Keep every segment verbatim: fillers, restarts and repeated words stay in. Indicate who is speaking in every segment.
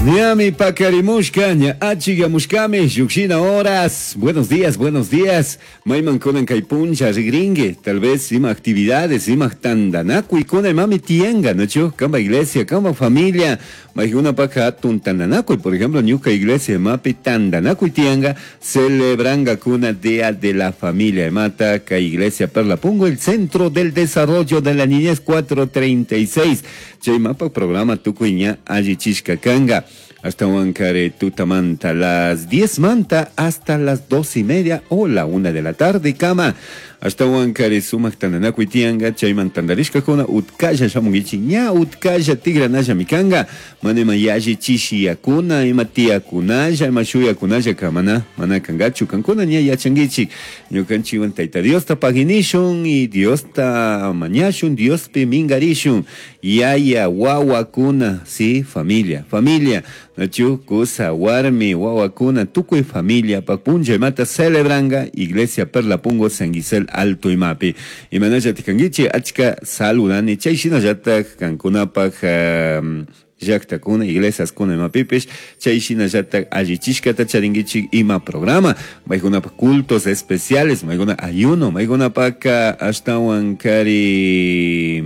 Speaker 1: Ñami pakarimushka, ña achigamushkami, llukshina horas. Buenos días, buenos días. Mayman kunan kay puncha rigringue, tal vez ima actividades, ima tandanakuy kuna imami tianga, ¿no? Kamba iglesia, kamba familia, maykunapaka hatun tandanakuy, por ejemplo, ñuka iglesia imapi tandanakuy tianga, celebranga kuna Día de la Familia imata, kay iglesia Perla Pungo, el Centro del Desarrollo de la Niñez cuatro treinta y seis. Chay mapa programa tukuy ña allichishka kanga. Hasta Huancaré, Tutamanta, las diez manta hasta las dos y media o la una de la tarde, cama. Hasta Huancaré, sumak tandanakuy tianga, chayman tandarishka kuna, utkalla shamungichi, ña utkalla tigranalla mikanga, manema yashi chishiyakuna, ima tiyakunalla, ima shuyakunalla kamana, mana kangachu, kankuna ña yachangichi. Ñukanchiwan Tayta Diosta paginishun y Diosta mañashun, Diospi mingarishun, yaya, wawakuna, sí, familia, familia. Nachu, kusa, warmi, wawakuna, tukuy familia, papuncha imata celebranga, Iglesia Perla Pungo, San Gisel Alto imapi. Imanalla tikangichi, achka saludani, chay shinallatak kankunapak, um, llaqtakuna, iglesias kuna imapipish, chay shinallatak allichishkata charingichik ima programa, maykunapak cultos especiales, maykuna ayuno, maykunapak ashtawan kari,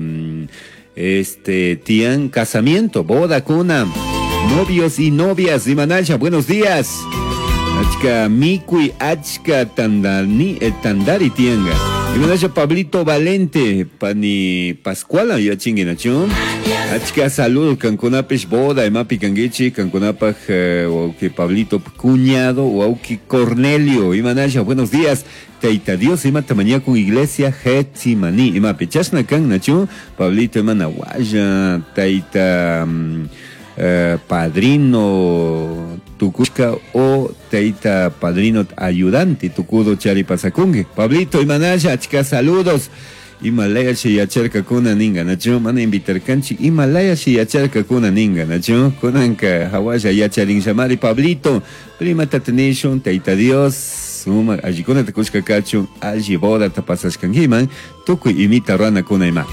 Speaker 1: este, tian casamiento, boda kuna, novios y novias, imanalla, buenos días. Achka mikui, achka tandani, eh, tandari tianga. Imanalla Pablito Valente, pani Pascuala, ya chinguinacho. Achka saludos, kankunapish boda, imapi kanguichi, kankunapaj, eh, wauki Pablito cuñado, wauki Cornelio, imanalla, buenos días. Taita Dios, imata mañana con iglesia Getsimani, imapi chashna kan, nacho, Pablito, imana guaya, taita, um, eh, padrino tukushka o taita padrino ayudante tukudo chari pasakunge. Pablito, imanalla, achka saludos. Himalaya shi yacharka kuna ninga, nacho, mana invitar kanchi, Himalaya shi yacharka kuna ninga, nacho, kunanka hawaya yacharin shamari Pablito, prima tatenishon, taita Dios, suma, allikuna takushka kachu, alli boda tapasashkangiman, tukuy imita rana kuna ima.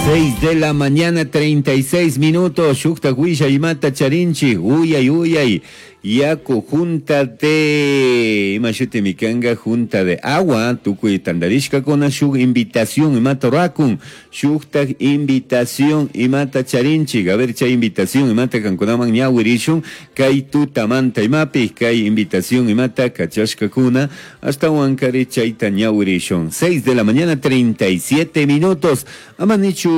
Speaker 1: Seis de la mañana, treinta y seis minutos, shukta huilla imata charinchi, uyay, uyay, yaku junta de, imashute mikanga junta de agua, tukuy tandarishka kuna shuk invitación imata rakun, shukta invitación imata charinchi, a ver chay invitación imata kankunaman ñawirishun, kay tutamanta imapi, kay invitación imata kachashka kuna, hasta huancari chayta ñawirishun. Seis de la mañana, treinta y siete minutos, amanichu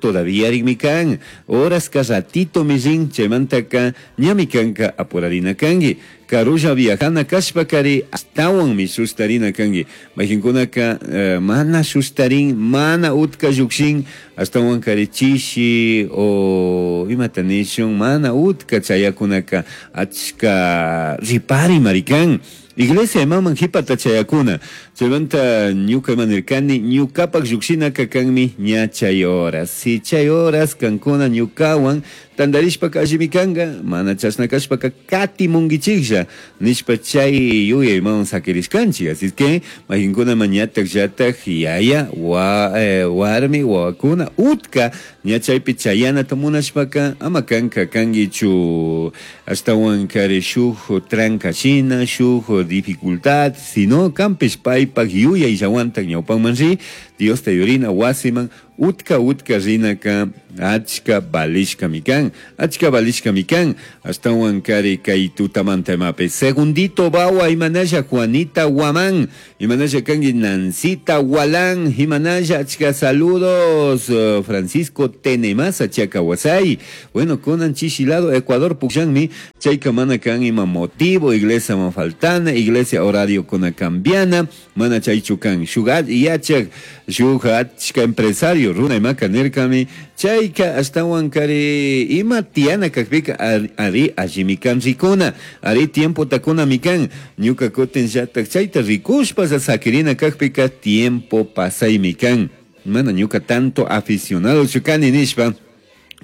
Speaker 1: todavía rigmikan, horas ka ratito mijin, chaymantaka ñamikanka apurarina kangi, karulla viajana kashpakari astawan mi sustarina kangi, mayqinkunaka eh, mana sustarin, mana utka llukshin, astawan kari chishi o imata nishun, mana utka chayakunaka achka ripari marikan. Iglesia imaman hipata chayakuna. Chaymanta ñuka imanirkani, ñukapak llukshinaka kanmi ña chay horas. Si chay horas kankuna ñukawan tandarishpaka allimi kanga, mana chashna kashpaka katimunkichiklla nishpa chay yuyay imawan sakirishkanchik. Así es que mayqinkuna mañatak llatak yaya wa, eh, warmi wawakuna utka ña chaypi chayanata munashpaka ama kanka kankichu ashtawan kari shuk tranca shina, shuk dificultad, sino kampish paypak yuyay llawantak ñawpanman ri, Dios te yurina wasiman utka utka rinaka achka balishka mikan, achka balishka mikan, ashtawan kari kay tutamanta imapi. Segundito bawa imanalla Juanita Guamán, imanalla kangi Nancita Gualán, imanalla achka saludos Francisco Tenemasa Chacawasay. Bueno, kunan chishilado Ecuador pukyanmi, chayka mana kan ima motivo, iglesia man faltana, iglesia horario kuna cambiana, mana chaychu kan shugat yachak, shugat achka empresario runa imaka nirkami, chayka ashtawan kari ima tiana kakpika ari allimikan rikuna, ari tiempo takuna mikan, ñuka kutin llatak chayta rikushpa sakirina kakpika tiempo pasay mikan, mana ñuka tanto aficionado chukani nishpa.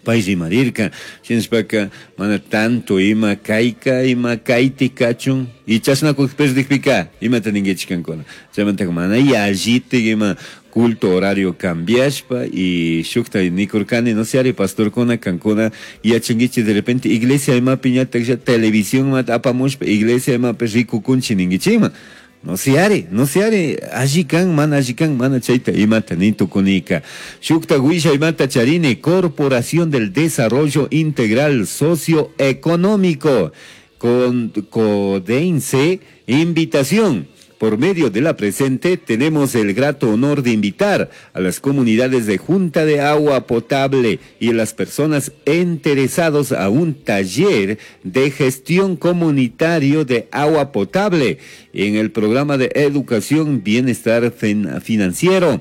Speaker 1: Pay rimarirka shinashpaka mana tanto ima kayka ima kayti kachun y chashnakuy perdikpika imata ninkichik kankuna chaymantaka mana yallitik ima culto horario cambiashpa y shukta nikurkani no sé ari pastorkuna kankuna yachankichik de repente iglesia imapi ñataklla televisión mata apamushpa iglesia imapi rikukunchik ninkichikman. No sé ari, no sé ari, alli kan, mana alli kan, mana chayta imata ni tukunika. Shukta wisha imata charini, Corporación del Desarrollo Integral Socioeconómico, con Codense, invitación. Por medio de la presente, tenemos el grato honor de invitar a las comunidades de Junta de Agua Potable y a las personas interesadas a un taller de gestión comunitario de agua potable en el programa de educación bienestar financiero.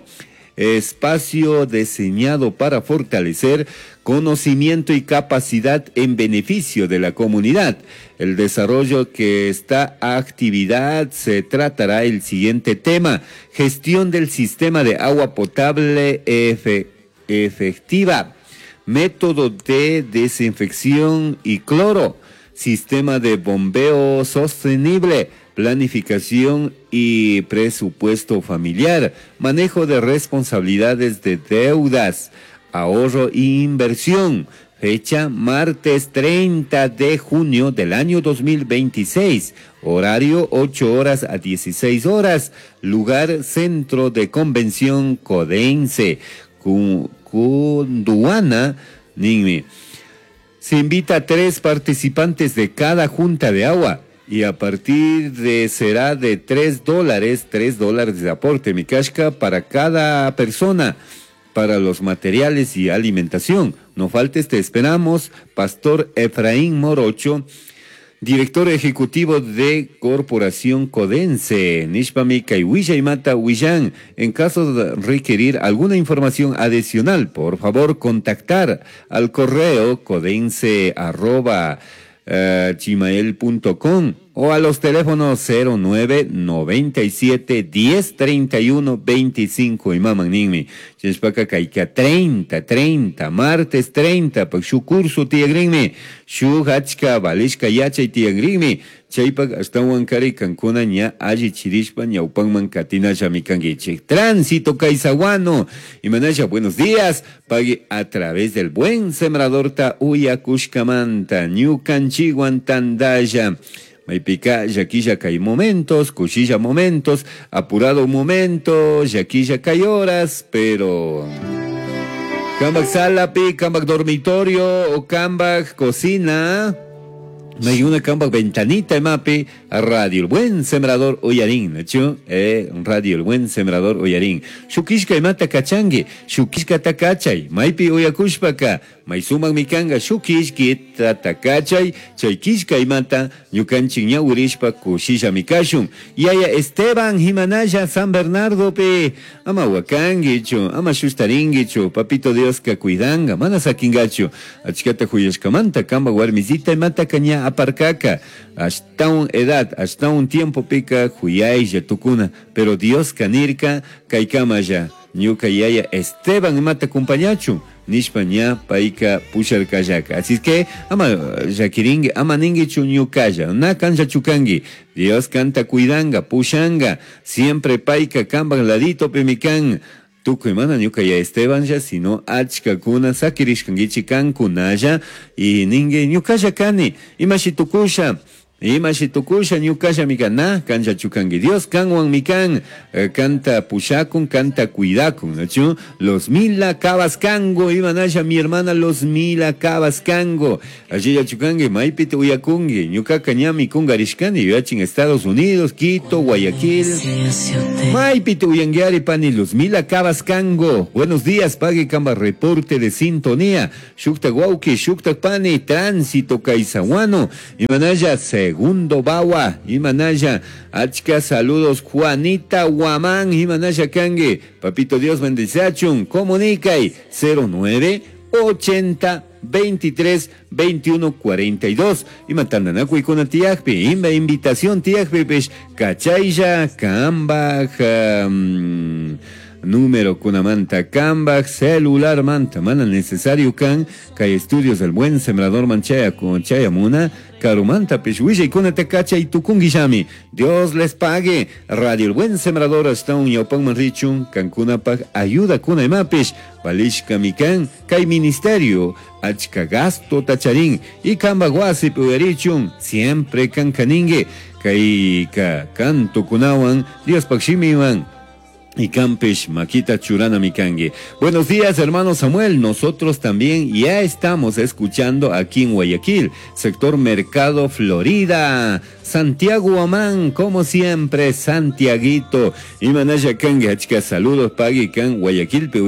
Speaker 1: Espacio diseñado para fortalecer conocimiento y capacidad en beneficio de la comunidad. El desarrollo que esta actividad se tratará el siguiente tema: gestión del sistema de agua potable efe, efectiva, método de desinfección y cloro, sistema de bombeo sostenible, planificación y presupuesto familiar, manejo de responsabilidades de deudas, ahorro e inversión. Fecha martes treinta de junio del año dos mil veintiséis, horario ocho horas a dieciséis horas, lugar Centro de Convención Codense, Cunduana, Ninmi. Se invita a tres participantes de cada junta de agua. Y a partir de será de tres dólares, tres dólares de aporte, mi casca, para cada persona, para los materiales y alimentación. No faltes, te esperamos. Pastor Efraín Morocho, director ejecutivo de Corporación Codense. Nishpami kay Mata Huillán. En caso de requerir alguna información adicional, por favor contactar al correo codense arroba Uh, gmail punto com o a los teléfonos cero nueve noventa y siete diez treinta y uno veinticinco. Y maman ninmi chinshpaka kayka treinta, treinta, martes treinta, pak shu curso tiyagrinmi, shu hachka valishka yachay tiyagrinmi, chaypak ashtawan kari kankuna ña alli chirishpa ñawpanman katinallami kankichik. Tránsito Caizaguano, imanalla, buenos días, pague a través del buen sembrador ta uyakushkamanta, ñukanchiwan tandalla. Maipika, yaquilla kay momentos, cuchilla momentos, apurado momento, yaquilla kay horas, pero... Kambak salapi, kambak dormitorio o kambak cocina. May una kambak ventanita mapi, radio El Buen Sembrador Oyarín, ¿no? Eh, radio El Buen Sembrador Oyarín. Shukishka imata kachangi, shukishka takachay, maypi oyakushpaka, maysuman mikanga, shukishki takachay, chaykishka imata, ñukanchik ñawirishpa kushisha mikashun. Yaya Esteban Jimanaya San Bernardo pe, ama wakangichu, ama shustaringichu, papito Dios ka cuidanga, mana sakingachu, achkata huyashkamanta, kamba warmisita imata kaña aparcaca, hasta un edad, hasta un tiempo pica, huyay tukuna, pero Dios kanirka, kaikamaya, ñuka yaya Esteban imata compañachu, nishpa ña paika pusharkayaka. Así que, ama yakiringi, ama ningichu ñukaya, na kancha chukangi, Dios canta cuidanga, pushanga, siempre paika kamban ladito pemikan. Tukuy mana ñuka ya Esteban ya, sino achkakuna sakirishkankichik kankunalla y ningue ñukalla kani, imashi tukusha, imashi tukusha ñukalla mikana, kancha chukangi Dios kanwan mikan, eh, canta pushakun, canta cuidakun, ¿no? Los mila cabascango, imanalla mi hermana los mila cabascango, allí ya chukangi, maipite uyakungi, ñukaka ñami kungarishkani, yachin Estados Unidos, Quito, Guayaquil, maipite uyanguiari pani los mila cabascango. Buenos días, pague kamba reporte de sintonía, shukta guauki, shukta pani, tránsito caizahuano, imanalla segundo bawa, imanaya, achka saludos, Juanita Guamán, imanaya kangue, papito Dios bendice achun, comunica y cero nueve ochenta veintitrés veintiuno cuarenta y dos, y matandanaku ikuna tiajpi, imba invitación tiajpi, pech, kachaya, kamba, um, Número kunamanta kambaj celular manta mana necesario kan kay estudios del buen sembrador man chaya chayamuna karumantapish willaykunata kachay tukunkillami. Dios les pague. Radio El Buen Sembrador ashtawan ñawpanman richun kankunapaj ayuda kuna imapish valishkami kan kay ministerio achka gasto tacharin y kambaj wasipi uyarichun siempre kankaningue kay ka kantukunawan Diospaj shimiwan y campesh makita churana mikangue. Buenos días, hermano Samuel. Nosotros también ya estamos escuchando aquí en Guayaquil, sector Mercado Florida. Santiago Amán, como siempre, Santiaguito. Y manaya kangue, achka saludos, pagui kan Guayaquil, pe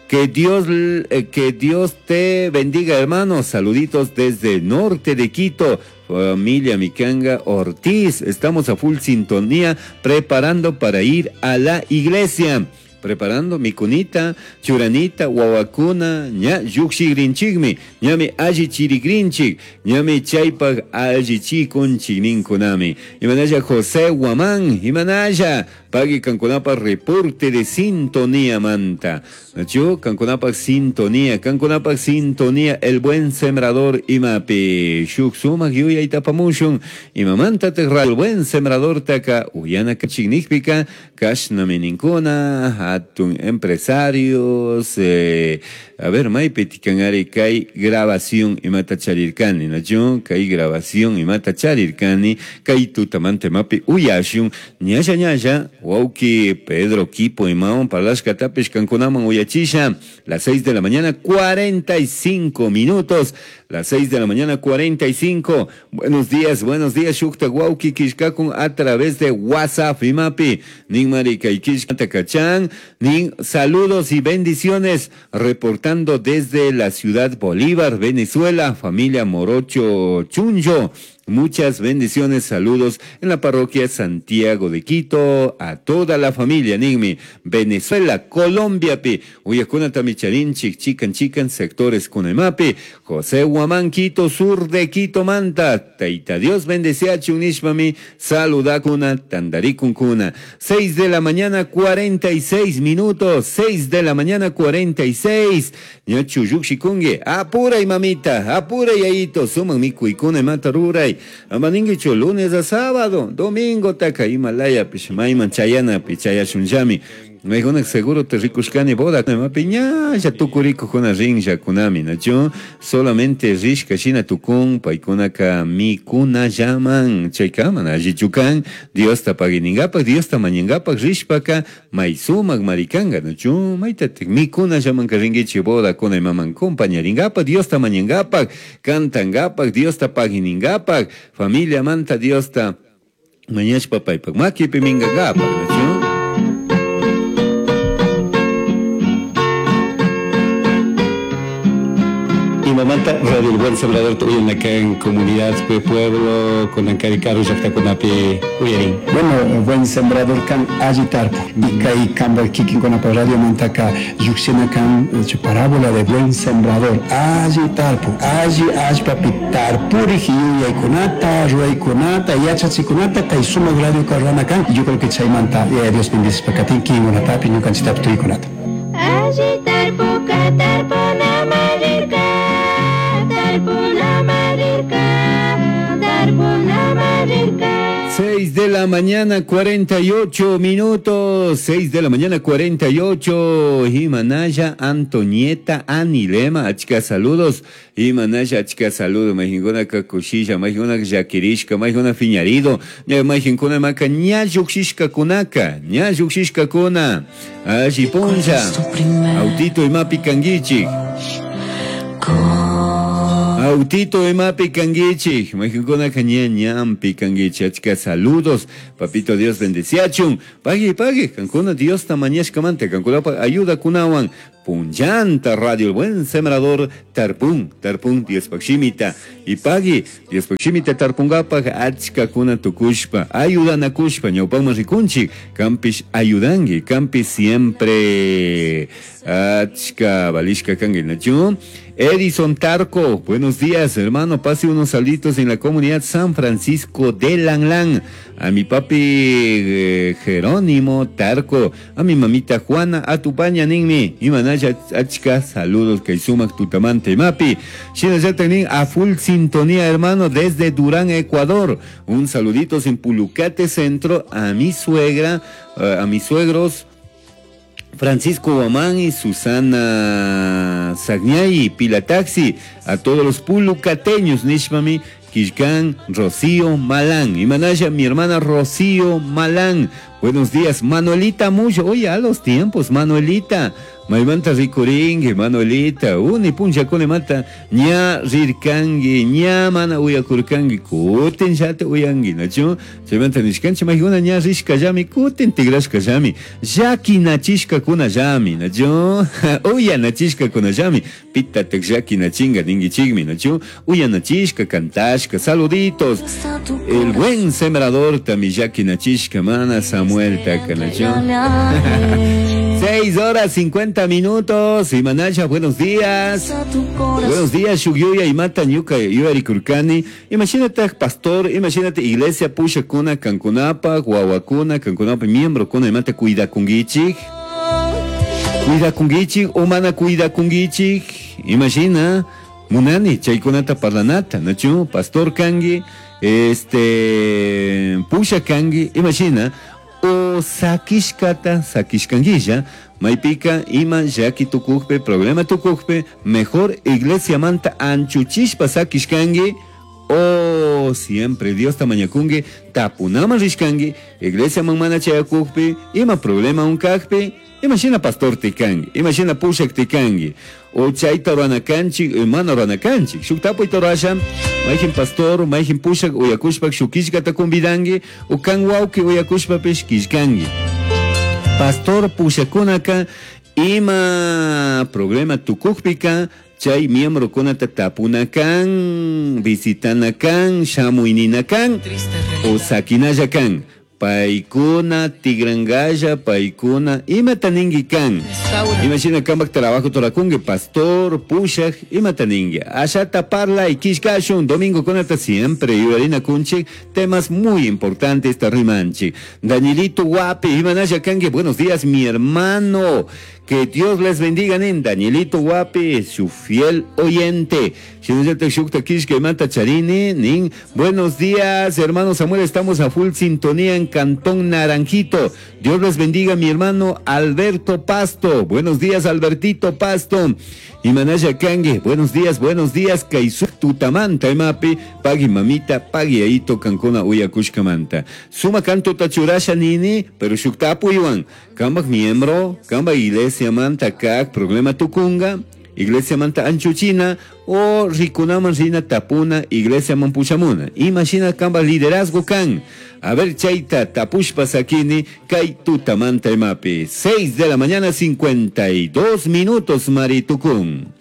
Speaker 1: Que Dios, eh, que Dios te bendiga, hermano. Saluditos desde el norte de Quito. Familia Micanga Ortiz, estamos a full sintonía preparando para ir a la iglesia. Preparando mikunita, churanita, wawakuna, ña llukshigrinchikmi, ñami alli chirigrinchik, ñami chaypaj alli chikunchik ninkunami. Imanaya José Guamán, imanaya, pagui kankunapa reporte de sintonía manta. Nachu, kankunapa sintonía, kankunapa sintonía, el buen sembrador imapi. Shuk sumak yuyay tapamushun, imamanta te el buen sembrador taka, uyana kachignikpika, kashnami ninkuna, atun empresarios, eh, a ver, maypi tikanari kay grabación imata charirkani, nachu, kay grabación imata charirkani, kay tutamante mapi uyashun, ñalla ñalla, wauki Pedro Quipo imawan parlashkatapish kankunaman uyachisha, las seis de la mañana, cuarenta y cinco minutos, las seis de la mañana, cuarenta y cinco. Buenos días, buenos días, shukta wauki kishkakun a través de WhatsApp imapi, nin marika ikishkatakachan, nin saludos y bendiciones, reportando desde la ciudad Bolívar, Venezuela, familia Morocho Chuncho. Muchas bendiciones, saludos en la parroquia Santiago de Quito, a toda la familia, Nigmi, Venezuela, Colombia, pi, Uyacuna Tamicharinchik, Chican Chican, sectores Cunemapi, José Guamán, Quito, sur de Quito, Manta, Taita Dios bendecía Chunishmami, saludacuna, Tandaricuncuna. Seis de la mañana, cuarenta y seis minutos, seis de la mañana, cuarenta y seis. Ñachu Yukshikungue, apura y mamita, apura y ayito, suman mi cuicuna y mata ruray. Amaninguicho, lunes a sábado, domingo taka Himalaya, pishmaiman chayana, pichayashunllami. Maykuna seguro te rikushkani boda, mapi ñalla tukuriko kuna rinlla kunami, nachu, solamente rishka shina tukun, paykunaka mikuna llaman, chaykaman allichukan, Dios ta paguiningapak, Dios ta mañangapak, rishpaka, maysumak marikanga, nachu, maytatik mikuna llaman ka ringuichi boda kuna imaman compañaringapak, Dios ta mañangapak, cantangapak, Dios ta paguiningapak, familia manta Dios ta mañashpa paypak makipi mingangapak, nachu.
Speaker 2: Mamanta Radio El Buen Sembrador tuyo acá en comunidad pueblo con Ancaricaru llaqtakunapi uyarin.
Speaker 3: Bueno, Buen Sembrador kan alli tarpu y kay kamba kikin kunapa radio mantaka lluqshina kan parábola de Buen Sembrador alli tarpu alli allpapi tarpuriq yuyaykunata ruwaykunata yachachikunata kay sumaq radio karwana kan. Yo creo que chaymanta Dios bendicishpa katin kikinkunatapi ñukanchiktapi tuykunata.
Speaker 4: Alli tarpuka tarpunaman rirka, tarpunaman rirka, tarpunaman rirka.
Speaker 1: Seis de la mañana, cuarenta y ocho minutos. Seis de la mañana, cuarenta y ocho. Imanaya Antonieta Anilema, achka saludos. Imanaya achka saludos. Majinkuna kakushilla, majinkuna llakirishka, majinkuna fiñarido. Majinkuna maka ña lluqshishka kunaka, ña lluqshishka kuna. Alli punlla. Autito imapi kanguichik. Autito imapi kanguichik, majinkuna ña ñampi kanguichik, achka saludos, papito Dios bendeciachun, pagui pagui, kankuna Dios ta mañashkamanta, kankunapa ayuda kunawan, Punllanta Radio El Buen Sembrador tarpun, tarpun Diospaj shimita. Y pagui, Diospaj shimita tarpungapaj achkakuna tukushpa, ayudanakushpa, ñawpakman rikunchik, kampish ayudangi, kampish siempre achka valishka kangi, nachu. Edison Tarco, buenos días, hermano, pase unos saluditos en la comunidad San Francisco de Langlán. A mi papi eh, Jerónimo Tarco, a mi mamita Juana, a tu paña ninmi, y manaya achka, saludos que sumak tutamante mapi. Shinallata a full sintonía, hermano, desde Durán, Ecuador. Un saludito en Pulucate Centro a mi suegra, eh, a mis suegros, Francisco Guamán y Susana Sagñay, Pila Taxi, a todos los pulucateños, Nishmami, Quilcán, Rocío Malán. Y Manaya, mi hermana Rocío Malán. Buenos días, Manuelita Mucho. Oye, a los tiempos, Manuelita. Maymanta rikuringi, Manuelita. Uni puncha mata. Ña rirkangi, ña mana uyakurkangi. Kutin llata uyangi, nachu? Chaymanta nishkanchi, maykuna ña rishkallami, kutin tigrashkallami. Llakinachishkakunallami, nachu? Uyanachishkakunallami. Pitatak llakinachinga ningichikmi, nachu? Uyanachishka, cantashka, saluditos. El buen sembrador tami llakinachishka, mana Samuel taka, nachu? Seis horas cincuenta minutos. Y Manaya, buenos días. Buenos días, Shugyuya y Mata Ñuka Yuari Kurkani. Imagínate, pastor, imagínate, iglesia Pusha Kuna, Cancunapa, Guaguacuna, Cancunapa, miembro Kuna, y Mata Cuida Kungichik. Cuida Kungichik, Humana Cuida Kungichik. Imagina, Munani, Chaykunata Parlanata, Nachu, Pastor Kangi, este, Pusha Kangi, imagina. O sakishkata, sakishkanguilla, maypika, ima, llaki tukujpe, problema tukujpe, mejor iglesia manta anchuchishpa sakishkangi, o siempre Dios tamañakungi, tapunaman rishkangi, iglesia man chayakujpe, ima problema unkajpe, imagina pastor tikangi, imagina pushak tikangi, o chayta ruanakanchik, mana ruanakanchik, shuk tapuyta rurasha, mayjin pastor, mayjin pushak uyakushpak shukishkata convidangi, o kan wawki uyakushpapish kishkangi. Pastor pushakunaka, ima problema tukujpika, chay miembro kunata tapunakan, visitanakan, shamuyninakan, o sakinallakan. Paikuna, tigrangaya, paikuna, imata ningi kan. Imagina kambak trabajo torakungue, pastor, pushak, imata ningi. Ashata parla y kishkashun, domingo kunata siempre, yurarina kunchik, temas muy importantes tarrimanchi. Danielito Guapi, imanaya kangue, buenos días, mi hermano. Que Dios les bendiga, nin. Danielito Guapi, su fiel oyente. Nin. Buenos días, hermano Samuel. Estamos a full sintonía en Cantón Naranjito. Dios les bendiga, mi hermano Alberto Pasto. Buenos días, Albertito Pasto. Y Manaya Kangue, buenos días, buenos días. Kaisu tutamanta, emapi, pagui mamita, pagui aito, cancona, uyakushkamanta. Suma canto tachurasha nini, pero shuktapu iwan. Kambak miembro, kamba iglesia manta kak, problema tukunga, iglesia manta anchuchina, o rikunaman rina tapuna, iglesia mampushamuna. Imagina kamba liderazgo kan. A ver, chaita, tapushpa sakini, kai tutamanta emapi. Seis de la mañana, cincuenta y dos minutos, maritukun.